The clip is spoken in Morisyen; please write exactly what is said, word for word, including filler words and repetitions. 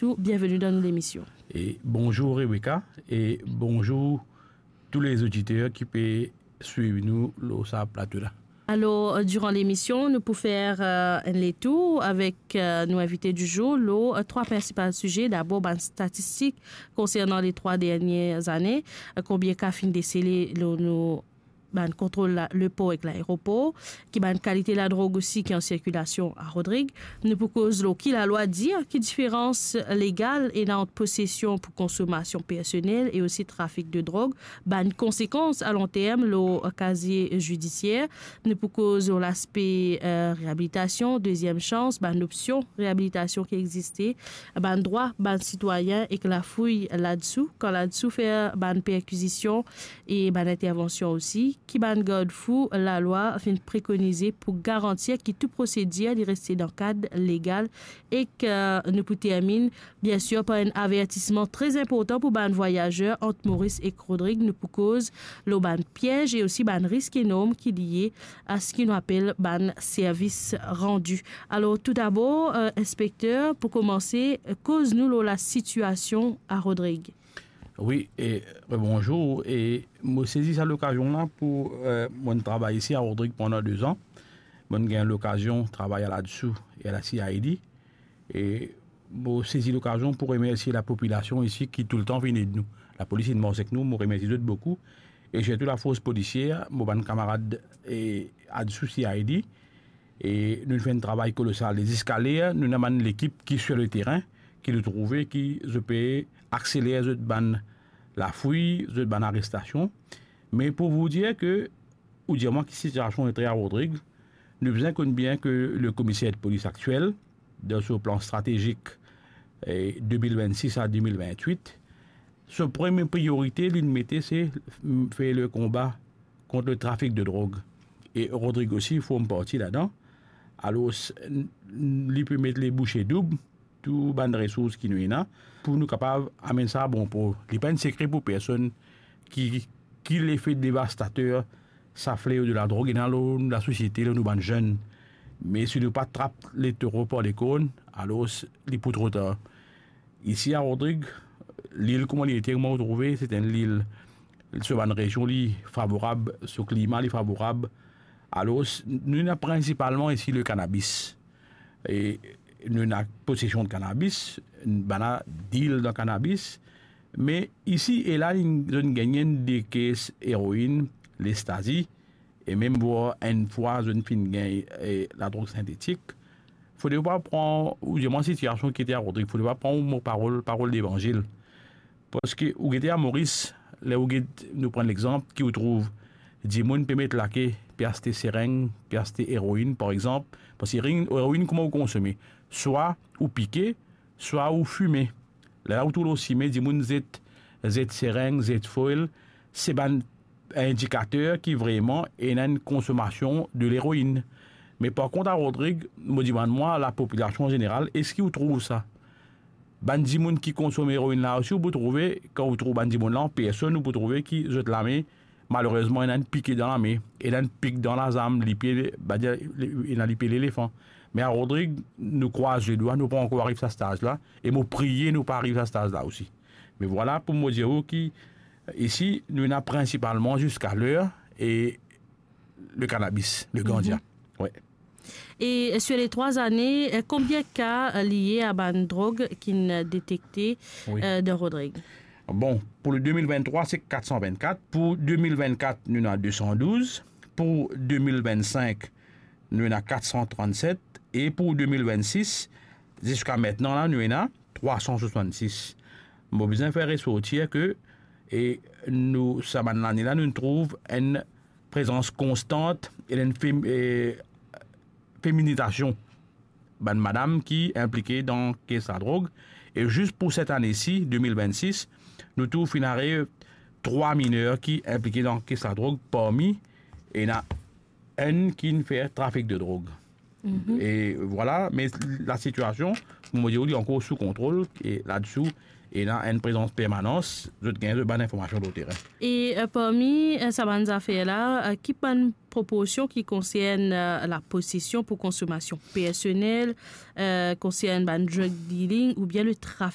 Nou, bienveni dan nou lemision. E bonzour Rebecca, e bonzour tou lezoditer ki pe swiv nou lor sa plato la. Alor, euh, diran lemision, nou pou fer, euh, enn letour avek, euh, nou invite di zour lor, euh, trwa prinsipal size. Dabor, bann statistik konsernan le trwa dernie ane, euh, konbien ka finn desele lor nou bann kontrol la, lepor ek laeropor, ki bann kalite ladrog osi ki an sirkilasion a Rodrig. Nou pou koz lor ki lalwa dir, ki diferans legal ena ant posesion pou konsomasion personel e osi trafik de drog, bann konsekans a long term lor kazie zidisier. Nou pou koz lor laspe, euh, reabilitasion, deziem sans, bann opsion reabilitasion ki existe, bann drwa bann sitwayin ek lafouy ladsou, kan ladsou fer bann perkizision e bann intervansion osi, ki bann gardfou lalwa finn prekonize pou garantir ki tou prosedir li reste dan kad legal, ek, euh, nou pou terminn, biensir, par enn avertisman tre inportan pou bann vwayazer ant Moris ek Rodrig. Nou pou koz lor bann piez e osi bann risk enorm ki lie a seki nou apel bann servis randi. Alor, toudabor, euh, inspekter, pou komanse, koz nou lor lasitiasion a Rodrig. Wi, e, rebonzour, e mo sezi sa lokazion la pou, euh, mo travay isi a Rodrig pandan de zan. Mo gagn lokazion travay a ladsou e a la C I D. E mo sezi lokazion pou remersie lapopilasion isi ki toultan vinn ed nou. Lapolis inn mars ek nou, mo remersie zot boukou. E sirtou lafors polisier, mo bann kamarad, e, ladsou C I D. E nou fer enn travay kolosal. E ziska ler, nou ena bann lekip ki sir leterin, ki nou trouve ki zot pe akseler zot bann lafouy, zot bann arestasion. Me pou vous dire ke, ou dir mwa ki sitiasion ete a Rodrig, nou bizin konn bien ke le komiser de polis aktiel, dan so plan stratezik, e, de mil vennsis a de mil vennwit, so premie priorite li mete, se, mm, fer le konba kont le trafik de drog. E Rodrig osi form parti ladan. Alor, s-, n-, n-, li pe met le bouche doub, tou bann resours ki nou ena, pou nou kapav amenn sa a bon por. Li pa enn sekre pou personn ki, ki lefe devastater sa fleo de ladrog ena lor lasosiete, lor nou bann zenn. Me si nou pa trap letoro par lekorn, alor s-, li pou tro tar. Isi a Rodrig, lil kouma li ete, kouma ou trouve, se enn lil, so bann rezion li favorab, so klima li favorab. Alor, s-, nou ena prinsipalman isi le kanabis. E nou ena posesion de kanabis, bann la dil dan kanabis, me isi e la, li, zot gagn enn de kes eroin, lestazi, e mem vwar enn fwa zot finn gagn, e, ladrog sintetik. Fode pa pran, ou dir mwa sitiasion ki ete a Rodrig, fode pa pran mo parol, parol levanzil. Parski ou gete a Moris, ler ou get, nou pran legzanp, ki ou trouv dimoun pe met lake, pe aste sereng, pe aste eroin, par exanp, parski eroin, eroin kouma ou konsome, swa ou pike, swa ou fime. Lerla ou trouv lor sime, dimoun zet, zet sereng, zet foil, se bann indikater ki vreman ena enn konsomasion de leroin. Me par kont a Rodrig, mo dimann mwa lapopilasion an zeneral, eski ou trouv sa? Bann dimoun ki konsom eroin la osi, ou pou trouve, kan ou trouv bann dimoun la an personn, ou pou trouve ki zot lame, malerezman, ena enn pike dan lame, ena enn pik dan lazam, lipie, ba, ena lipie lelefan. Me a Rodrig, nou krwaz ledwa, nou pa ankor ariv sa staz la, e mo priye nou pa ariv sa staz la osi. Me vwala pou mo dir ou ki, isi, nou ena prinsipalman ziska ler, e le kanabis, le gandia. Mhm. Wi. E, euh, sur les trois années, euh, konbien ka, euh, lie a bann drog ki'nn detekte, wi, euh, dan Rodrig? Bon, pou le de mil venntrwa, se kat san vennkat. Pou de mil vennkat, nou ena de san douz. Pou de mil vennsink, nou ena kat san trannset. E pou de mil vennsis, ziska aster la, nou ena trwa san swasannsis. Mo bizin fer resortir ke, e, nou, sa bann lane la, nou trouv enn prezans konstant e enn fem-, e, feminitasion bann madam ki inplike dan kes ladrog. E zis pou set ane si, de mil vennsis, nou trouv finn ariv trwa miner ki inplike dan kes ladrog, parmi ena enn ki'nn fer trafik de drog. Mhm. E vwala, me lasitiasion, mo dir ou, li ankor sou kontrol, e ladsi, ena enn prezans permanans, zot gagn zot bann informasion lor terin. E, euh, parmi, euh, sa bann zafer la, euh, ki bann proporsion ki konsern, euh, laposesion pou konsomasion personel, euh, konsern bann drug dealing oubien le trafik?